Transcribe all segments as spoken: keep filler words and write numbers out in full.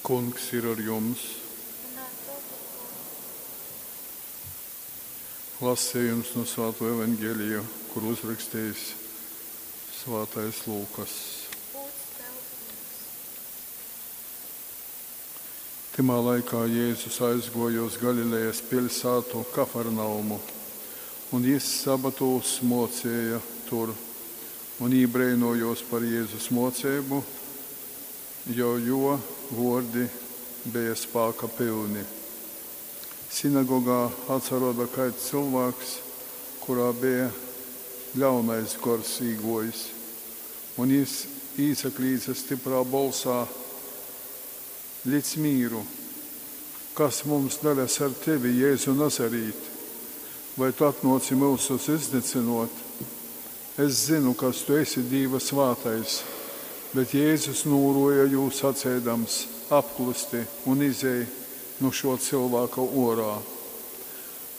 Kungs ir ar jums. Un ar tavu goru. Lasījums no Svāto Evangelija, kur uzrakstījis Svātais Lūkas. Gods tev, Kungs. Tymā laikā Jēzus aizguoja uz Galilejas pilsētu Kafarnaumu, un jis sabatūs mocēja tur, un jī breinojos par Jēzus moceibu, jo jo vuordi beja spāka pylni. Sinagogā atsaroda kaids cylvāks, kurā beja ļaunais gors īguojis, un jis īsaklīdze styprā bolsā: Lic mīru! Kas mums daļas ar tevi, Jēzu Nazarīt? Vai tu atnuoci myusus iznycynuot? Es zynu, kas tu esi Dīva svātais. Bet Jēzus nūruoja jū saceidams: Apklusti un izej nu šuo cylvāka uorā.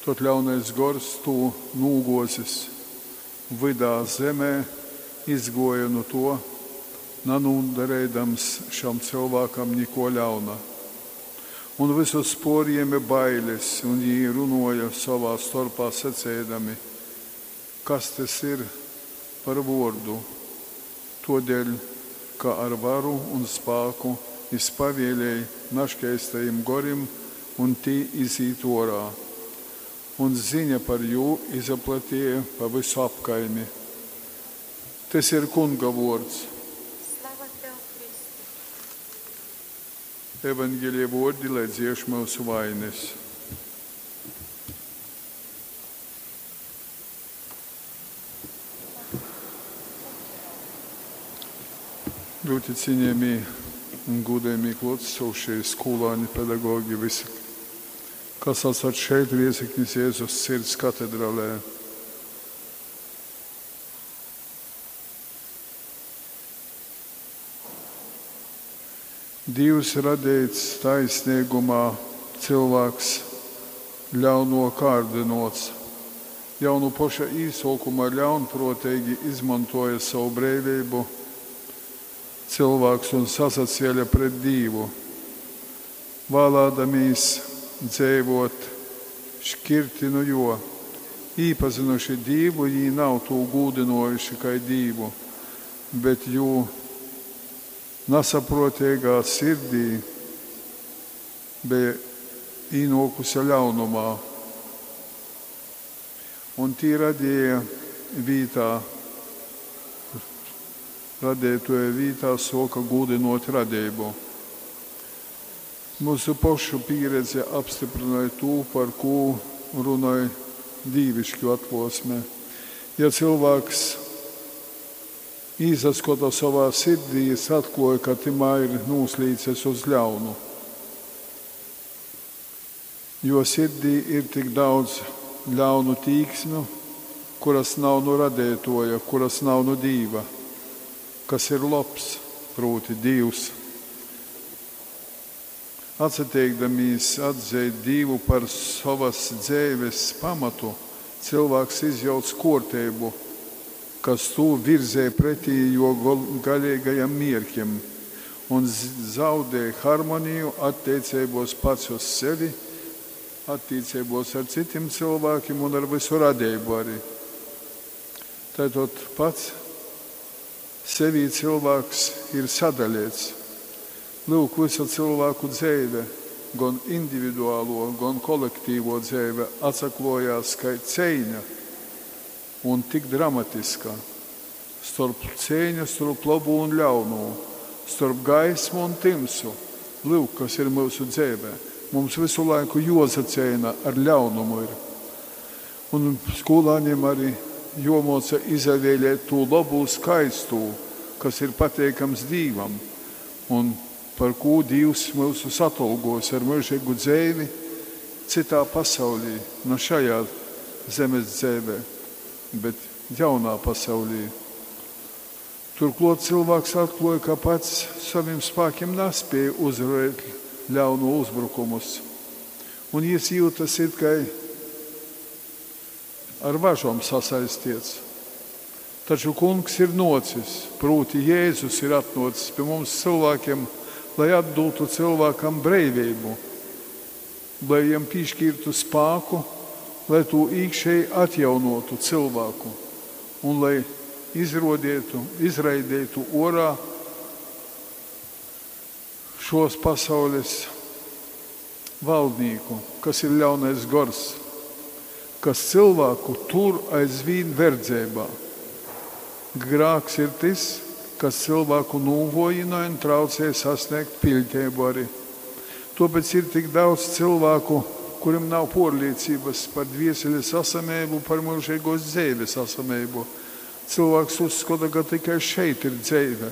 Tod ļaunais gors tū nūguozis vydā zemē izguoja nu tuo, nanūdareidams šam cylvākam nikuo ļauna. Un vysus puorjēme bailes, un jī runuoja sovā storpā saceidami: Kas tys ir par vuordu? Tuodeļ, ka ar varu un spāku jis pavielej naškeistajim gorim, un tī izīt uorā. Un ziņa par jū izaplateja pa vysu apkaimi. Tys ir Kunga vuords. Slava tev, Kristu. Evangelija vuordi, lai dzieš myusu vainis. Ļoti cienījamie un godējamie klātesošie, skolāni, pedagogi, visi, kas esat šeit Riezeknis Jēzus Sirds katedralē. Dīvs radeits taisneigumā, cylvāks ļauno kārdynuots. Jau nu poša īsuokuma ļaunpruoteigi izmontuoja sovu breiveibu cylvāks un sasacēle pret Dīvu, vālādamīs dzeivuot škirti nu juo. Īpazynuši Dīvu, jī nav tū gūdynuojuši kai Dīvu, bet jū nasapruoteigā sirdī beja īnuokuse ļaunumā. Un tī radīja vītā, radeituoja vītā suoka gūdynuot radeibu. Myusu pošu pīredze apstyprynoj tū, par kū runoj dīvišķu atkluosme. Ja cylvāks īsaskota sovā sirdī, jis atkluoj, ka tymā ir nūslīcis uz ļaunu. Jo sirdī ir tik daudz ļaunu tīksmu, kuras nav nu radeituoja, kuras nav nu Dīva, kas ir lobs, prūti Dīvs. Atsateikdamīs atzeit Dīvu par sovas dzeives pamatu, cylvāks izjauc kuorteibu, kas tū virzej pretī juo galeigajam mierkim, un zaudej harmoniju atteiceibuos pats uz sevi, attīceibuos ar cytim cylvākim un ar vysu radeibu ari. Taitod pats sevī cylvāks ir sadaleits. Lyuk, vysa cylvāku dzeive, gon individualuo, gon kolektīvuo dzeive atsakluojās kai ceiņa un tik dramatiska. Storp ceiņa storp lobū un ļaunū, storp gaismu un tymsu. Lyuk, kas ir myusu dzeivē. Mums vysu laiku juosaceina ar ļaunumu ir. Un skolāniem arī juomuoca izavēlēt tū lobū, skaistū, kas ir pateikams Dīvam un par kū Dīvs myusus atolgos ar myužeigu dzeivi cytā pasaulī, na šajā zemes dzeivē, bet jaunā pasaulī. Turklot cylvāks atkluoja, ka pats sovim spākim naspēja uzvarēt ļaunu uzbrukumus, un jis jūtas it kai ar važom sasaistiets. Taču Kungs ir nocis, prūti Jēzus ir atnocis pie mums cilvēkiem lai atdūtu cylvākam breiveibu, lai jam pīškīrtu spāku, lai tū īkšeji atjaunōtu cylvāku un lai izrōdeitu, izraideitu ōrā šōs pasaules valdnīku, kas ir ļaunais gors, kas cylvāku tur aizvīn verdzeibā. Grāks ir tys, kas cylvāku nūvōjinoj un traucej sasnēgt piļdeibu arī. Tōpēc ir tik daudz cylvāku, kurim nav pōrlīcības par dvieseles asameibu, par myužeigōs dzeives asameibu. Cylvāks uzskata, ka tikai šeit ir dzeive.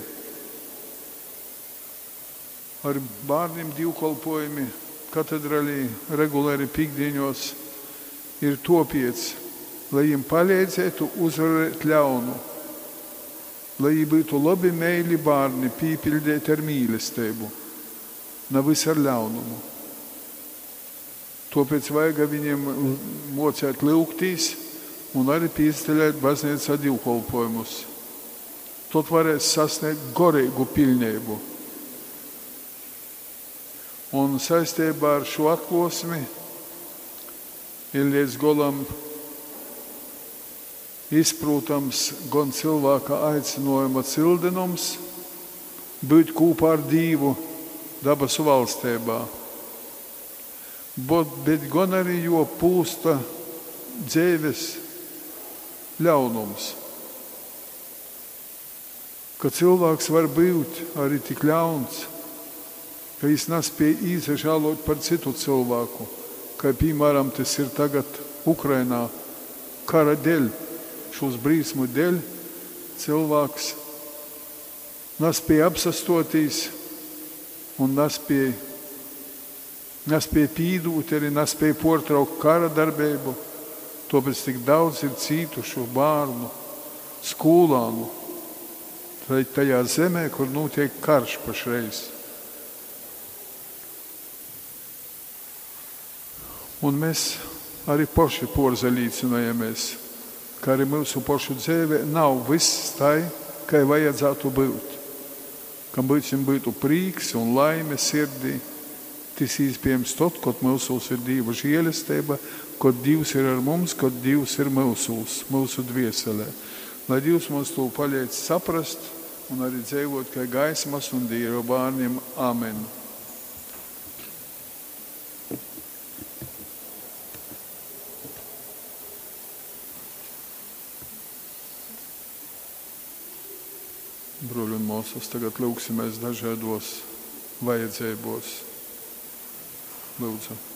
Ar bārnim dīvkolpojumi katedralī regulāri pīktdīņos ir topiec, lai jim palīdzētu uzvarēt ļaunu, lai jī būtu labi meili bārni, pīpildēti ar mīlestību, nevis ar ļaunumu. Tāpēc vajag viņiem mocēt lūgtīs un arī pīstelēt baznīcā divkolpojumus. Tad varēs sasniegt gorīgu pilnību. Un saistībā ar šo atklāsmi ir līdz galam izprotams gan cilvēka aicinājuma cildinums būt kopā ar Dievu dabasu valstībā, bet, bet gan arī jo pūsta dzīves ļaunums. Ka cilvēks var būt arī tik ļauns, ka viņš nespēja īsažālot par citu cilvēku, kā piemēram tas ir tagad Ukrainā, kara dēļ, šos brīsmu dēļ, cilvēks nespēja apsastotīs un nespēja, nespēja pīdūt, arī nespēja portraukt kara darbību. Tāpēc tik daudz ir cītušu bērnu, skolānu, tajā zemē, kur notiek karš pašreiz. Un mēs arī paši porzalīcinājamies, ka arī mūsu pašu dzīvē nav viss tai, kā vajadzētu būt. Kam būsim būtu prīks un laime sirdī, tas iespējams tad, kad mūsos ir Dieva žēlastība, kad Dievs ir ar mums, kad Dievs ir mūsos, mūsu dvieselē. Lai Dievs mums to palīdz saprast un arī dzīvot kā gaismas un Dieva bērniem. Amen. Bruļi un māsas, tagad lūgsimies dažādos vajadzībos. Lūdzu.